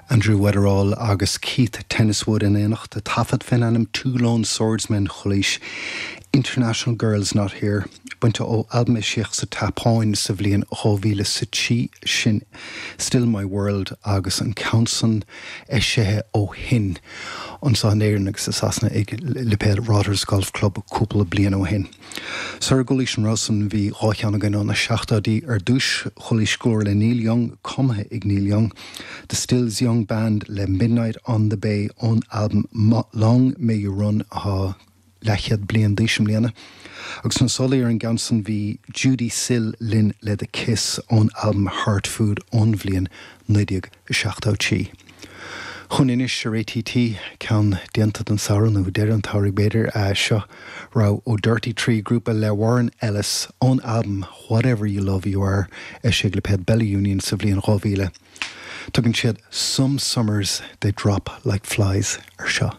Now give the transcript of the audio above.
Andrew Weatherall agus Keith Tenniswood in éineacht, taifead fén ainm Two Lone Swordsmen Chualaís International Girl's Not Here, bainte ó albam a eisíodh sa tSeapáin sa bhliain 2003, sin Still My World agus an ceann san eisithe ó shin anseo in Éirinn agus i Sasana ag lipéad Rotters Golf Club cúpla bliain ó shin. Sara gcualaís an rogha san bhí dhá cheann againn ó na seachtóidí. Ar dtúis chualaís glór le Neil Young, cumtha ag Neil Young, The Stills Young Band le Midnight on the Bay ón albam Long May You Run atá leathchéad bliain d'aois i mbliana. Agus sna sála ar an gceann san bhí Judee Sill linn le The Kiss ón albam Heart Food ón bhliain 1973. Chugainn anois ar ATT, ceann déanta don samhradh, nó deireadh an tsamhraidh b'fhéidir, seo rogha ó Dirty Tree, grúpa le Warren Ellis, ón albam Whatever You Love You Are, eisithe ag lipéad Bella Union sa bhliain 2000. Tugann siad Some Summers They Drop Like Flies ar seo.